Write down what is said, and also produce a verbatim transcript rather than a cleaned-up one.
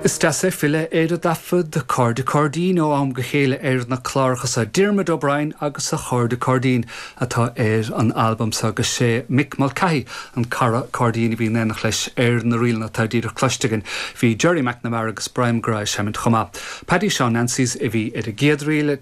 Is deas é filleadh ar an dtaifead Cairde Cairdín ó am go chéile ar na cláracha seo Diarmuid O'Brien agus a chairde cairdín atá ar an albam seo agus sé Mick Mulcahy an cara cairdín a bhí in éineacht leis ar na ríleanna atá díreach cloiste againn. Bhí Gerry McNamara agus Brian Gray seimint chomh maith. Paddy Seán Nancy's a bhí ar an gcéad ríl